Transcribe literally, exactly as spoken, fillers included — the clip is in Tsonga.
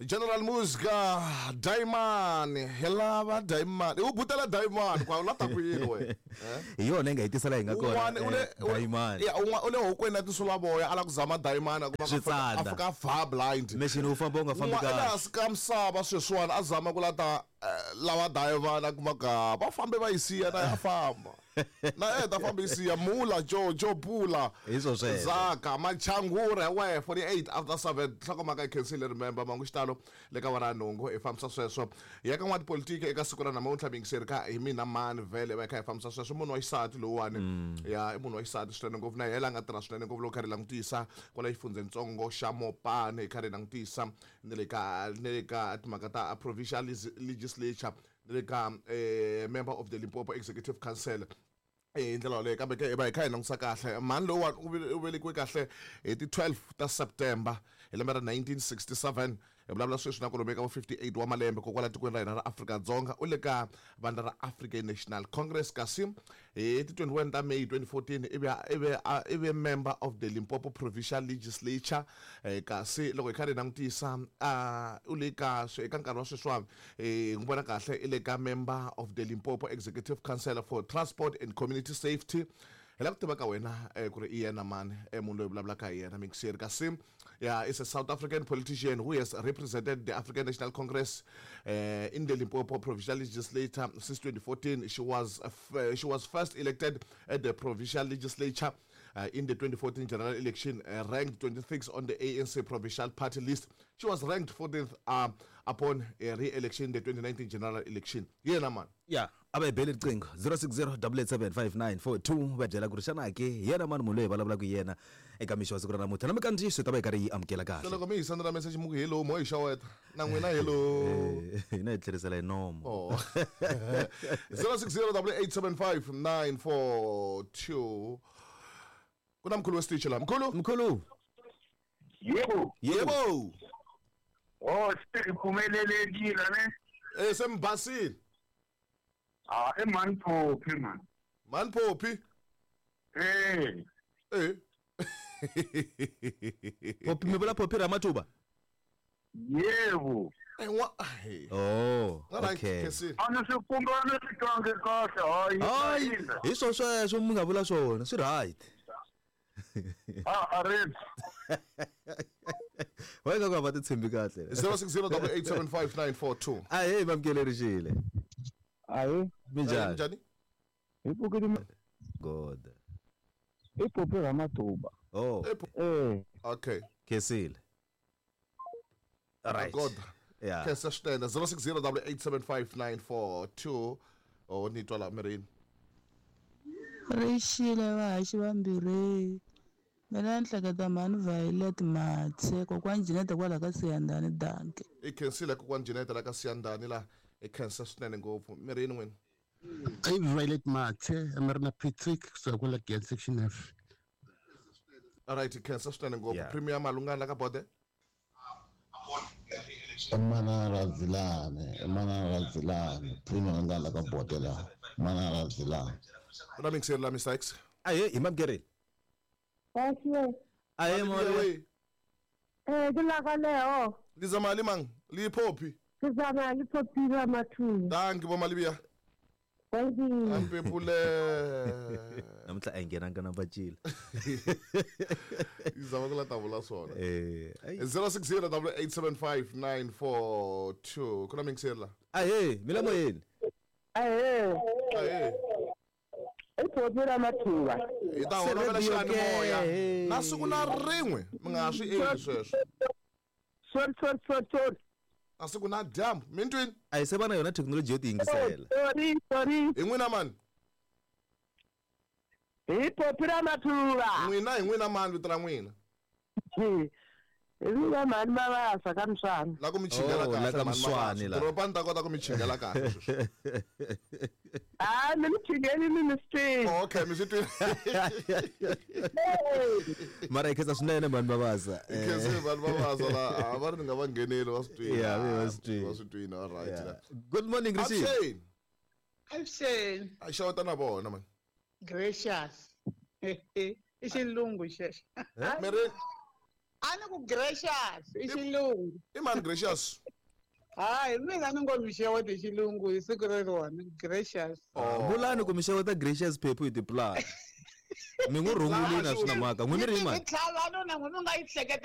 General Muzka Diamond hi lava Diamond u butela Diamond kwa u lata ku yini we hi yona yi nga hi tisela hi nga kona Diamond ya un'wana u le hokweni na tinsulavoya a la ku zama Diamond a kuma a fika fa blind machine u famba u nga fambi kahle ehansi ka misava sweswiwani a zama ku lata lava Diamond a kuma ka va fambe va yi siya na ya famba na e ta fambe yi siya mula jojo pula hi swo sweswo zaka machangura we forty-eight after seven nhlokomhaka yi khensile remember mangu xitalo le ka wara nhungu hi fambisa sweswo ya ka n'watipolitiki eka siku ra namuntlha mingiseri ka hi mina mani vhele va kha hi fambisa sweswo munhu wa xisati lowuwani ya i munhu wa xisati swinene ngopfu na yena a nga tirha swinene ngopfu loko kha ri langutisa kwala xifundzhentsongo xa Mopani hi kha ri langutisa ni le ka ni le ka timhaka ta provincial legislature ni le ka member of the Limpopo Executive Council hi ndlela yoleyo kambe ke hi va hi kha hi langutisa kahle mhani lowuwani u velekiwe kahle hi ti twelve ta September hi lembe ra nineteen sixty-seven hi vulavula sweswi na kwalomu ka vo fifty-eight wa malembe kokwala tikweni ra hina ra Afrika-Dzonga u le ka vandla ra African National Congress kasi hi ti twenty-one ta May twenty fourteen i ve i ve i ve member of the Limpopo Provincial Legislature kasi loko hi kha hi langutisa u le ka eka nkarhi wa sweswiwani hi n'wi vona kahle i le ka member of the Limpopo Executive Council for Transport and Community Safety hi la ku tiva ka wena ku ri i yena mani munhu loyi vulavulaka hi yena mingiseri kasi ya is a South African politician who has represented the African National Congress uh, in the Limpopo Provincial Legislature since twenty fourteen. She was uh, she was first elected at the Provincial Legislature uh, in the twenty fourteen general election, uh, ranked twenty-sixth on the A N C Provincial Party list. She was ranked fourteenth uh, upon a re-election in the twenty nineteen general election. Yena man. Yeah, a va hi bele riqingho zero six zero double eight seven five nine four two va byela ku ri xana ke yena mani munhu loyi hi vulavulaka hi yena eka mixo wa siku ra namuntlha na mikandziyiso yi ta va yi karhi yi amukela kahle loko mi hi sendela message mi ku hello mo hi xaweta na n'wina hello hina hi tlherisela hi nomo oh zero six zero double eight seven five nine four two ku na mkhulu wa Stitch la mkhulu mkhulu yebo yebo oh siphumelelekile ne eh sembasile Ah, e man Poppy man. Man Poppy? Eh. Eh. Poppy mi vula Poppy Ramatuba? Yebo. Eh wa. Oh, okay. Ana se kumbana swi twange kahle hayi. Hayi, hi swo sweswo mi nga vula swona, swi right. Ah, arrange. Wa nga va ti tshembi kahle. zero six zero double eight seven five nine four two. Ah, hey, mamkelelixile. Ayi minjhani minjhani hi pfukile God i Poppy Ramatuba oh eh okay khensile right God yeah khensa swinene zero six zero double eight seven five nine four two oh ni twa la mirini Rixile vahaxi vambirhi mina ni hleketa mhani Violet Matse kokwani Jeanette kwala ka Siyandhani danke i khensile kokwani Jeanette la ka Siyandhani la i khensa swinene ngopfu mirini n'wina i Violet Matse mi ri na Patrick kusuka kwala Gate section F alright i khensa swinene ngopfu Premier Malungana la ka Bode Mana Razilane mana Razilane Premier Malungana la ka Bode la mana Razilane una mixer la Mister X aye hi mamkerile Aye aye mo Eh ke la ka leo lizamali mang li Poppy ke zama li Poppy Ramatuba thank you bo Malibia thank you ampepule namuntlha a yi nghenanga na vacila izama ku la ta vula swona eh zero six zero double eight seven five nine four two ku na mixer la ahe mi la moyeni ahe ahe i Poppy Ramatuba hi ta holovela xiyanimoya na siku na rin'we mi nga swi endli sweswo sorry sorry sorry sorry a siku na dyambu mi ntwini a hi se va na yona thekinoloji yo ti yingisela sorry sorry hi n'wina mani hi Poppy Ramatuba n'wina hi n'wina mani vito ra n'wina hi mina mani Mabasa ka Mswani la ku mi chingela la kahle ka Mswani la doroba ni ta kota ku mi chingela kahle sweswi ah mi mi chingeli mi mi swi twini okay mi swi twini mara hi khensa swinene mani Mabasa hi khensa vanhu Mabasa la a va ri ni nga va ngheneli va swi twini yeah va swi twini va swi twini all right la good morning Rishi Avuxeni Avuxeni a xeweta na vona man gracious i xilungu xexo mirini A ni ku gracious i xilungu. I mani gracious? Hayi, mina ni ngo mi xeweta hi xilungu hi siku reriwani, gracious. Vulani ku mi xeweta Gracious Phephu hi tipulani. Mi n'wi rhungulini a swi na mhaka. N'wi mi ri Yi mani? tlhava nuna n'wi mi nga yi hleketeli.